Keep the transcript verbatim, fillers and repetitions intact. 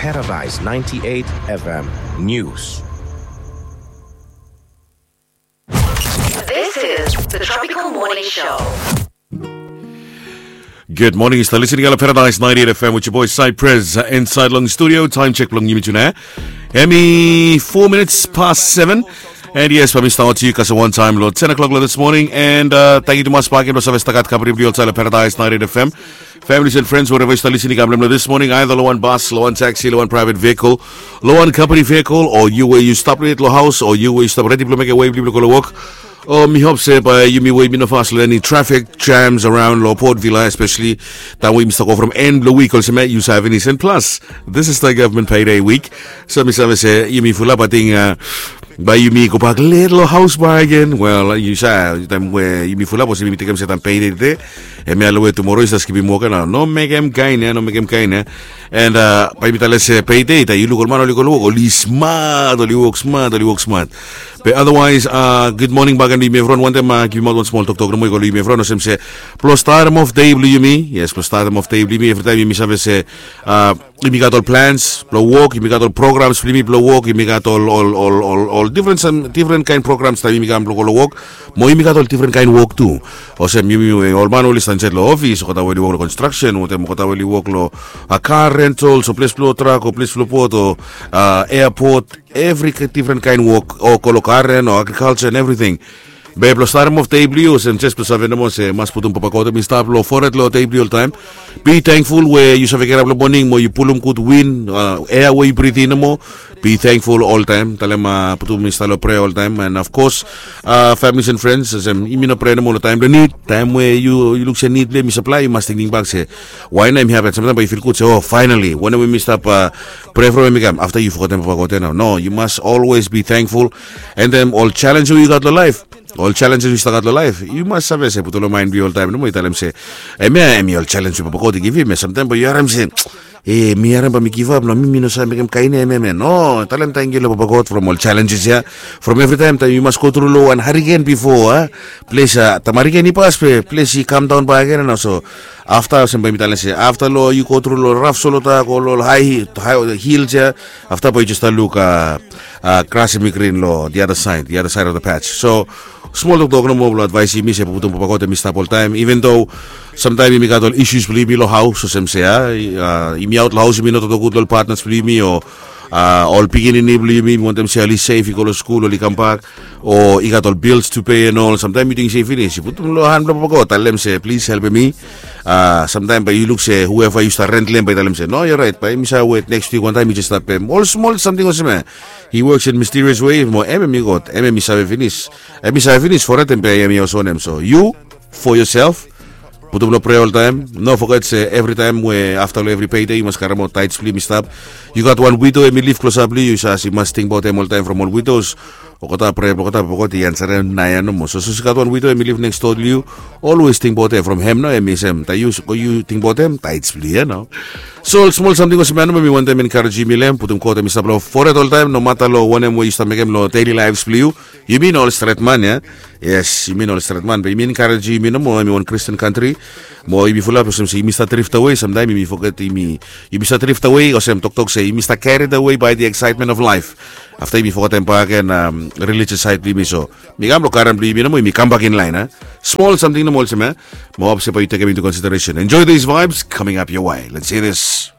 Paradise ninety-eight F M News. This is the Tropical Morning Show. Good morning, yu stap listening long Paradise ninety-eight F M with your boy Cypress, uh, inside long studio. Time check blong yumi tune. Hemi four minutes past seven. And yes, bae mi stap wetem yu kasem wan taem long ten o'clock long this morning. And uh, tangkiu tumas bakegen blong save stap gat kampani blong yu olsem long Paradise ninety-eight F M. Families and friends, wherever yu stap listening, kam blong this morning, either long wan bus, long wan taxi, long wan private vehicle, long wan company vehicle, o yu we yu stap yet long haos, o yu we yu stap redi blong mekem wei blong yu blong go long wok. O mi hop se bae yumi we yumi no fas long eni traffic jams around long Port Vila, especially taem we yumi stap go from end blong wik olsem ya, yu save finis. And plus, this is the government payday week. So mi save se yumi fulap, ating, uh, bae yumi gobak let long haos bakegen. Wel, yu save, taem we yumi fulap olsem yumi tekem se taem payday tede, hemia long we tumoro yu save skipim wok ya nao. No mekem kaen ya, no mekem kaen ya. And uh, bae yumi talem se payday, taem yu luk ol man oli go long wok, oli smat, oli wok smat, oli wok smat. Be otherwise, uh, good morning bakegen long yumi evriwan. Wantem uh, givim aot wan smol toktok nomo i go long yumi evriwan olsem se blong statem of dei blong yumi. Yes, blong statem of dei blong yumi, evritaem yumi save se uh, yumi gat ol plans blong wok, yumi gat ol programs blong yumi blong wok, yumi gat ol, ol, ol, ol, ol difren, sam difren kaen programs taem yumi kam blong go long wok. Mo yumi gat ol difren kaen wok tu. Olsem yumi, ol man oli stap insaed long ofis, olgeta we oli wok long construction, wantem olgeta we oli wok long uh, car rentals o ples blong trak o ples blong bot o uh, airport, evri difren kaen wok, o go long garen o agriculture and everything. Be blong statem of dei blong yu olsem jes blong save nomo se mas putum Papa God hem i stap long fored long dei blong yu oltaem. Be thankful we yu save girap long moning mo yu pulum gud win, uh, ea we yu britim nomo. Be thankful oltaem. Talem uh, putum hem i stap long prea oltaem. And of course, uh, families and friends, olsem yumi no prea nomo long taem blong nid. Taem we yu, yu luk se nid blong hem i saplae, yu mas tingting bak se wae nao hemi hapen. Samtaem bae yu fil gud se, o, finally, wanem we mi stap uh, prea from hem i kam. Afta yu fogetem Papa God ya nao. No, yu mas always be thankful. And then ol jalenj we yu gat long laef, ol jalenj we yu stap gat long laef, yu mas save se putum long maen blong yu oltaem nomo, yu talem se hemia hemi ol jalenj we Papa God i givim. Samtaem bae yu harem se, e, mi harem bae mi givap nao, mi, mi no save mekem kaen ya, hemia, hemia. No, talem tangkiu long Papa God from ol jalenjes ya. From evritaem taem yu mas go tru long wan hariken bifo, a, ples, a, taem hariken i pas be ples i kamdaon bakegen nao. So afta olsem bae mi talem se afta long yu go tru long raf solota, go long ol hae, hae hils ya, afta bae yu jes stap luk, a, a, gras hemi grin long the other side, the other side of the patch. So smol toktok nomo blong advaesem yumi se putum Papa God hem i stap oltaem, even though samtaem yumi gat ol issues blong yumi long haos, olsem se, a, yumi aot long haos, yumi no toktok gud long ol partners blong yumi o, a, ol pikinini blong yumi, yumi wantem se oli sef, i go long skul, oli kambak, o i gat ol bills to pay and all. Samtaem yu ting se i finis, yu putum long han blong Papa God, talem se plis helpem mi. A, samtaem bae yu luk se whoever yu stap rent long hem bae i talem se, no, you're right, bae mi save wet next week wantaem mi jes stap pem. Ol smol samting olsem ya. He works in mysterious way. Mo hem hemi God, hem hemi save finis. Hem i save finis fored, hem bae hem i olsem wanem. So yu, for yourself, putum long prea oltaem. No foget se evritaem we afta long evri payday yu mas karemaot tithes blong yu i stap. Yu gat wan widow hem i liv klosap long yu, yu save se yu mas tingbaot hem oltaem. From ol widows, olgeta prea blong olgeta Papa God i ansarem naoia nomo. So sapos yu gat wan widow hem i liv next door long yu, always tingbaot hem. From hem nao hem i sem, taem yu, yu tingbaot hem, tithes blong yu ya nao. So ol smol samting olsem ya nomo mi wantem enkarejem yumi long hem, putum God hem i stap long fored oltaem, no mata long wanem we yu stap mekem long daily lives blong yu. Yumi no ol stret man ya. Yes, yumi no ol stret man, be yumi enkarejem yumi nomo, hemi wan Christian country. Mo yumi fulap olsem se yumi stap drift away, samtaem yumi foget, yumi, yumi stap drift away, olsem toktok se yumi stap carried away by the excitement of life. Afta yumi fogetem bakegen, um, religious side blong yumi. So mi kam long garen blong yumi nomo, yumi kambak in line, a. Smol samting nomo olsem ya. Mo hop se bae yu tekem into consideration. Enjoy these vibes coming up your way. Let's hear this.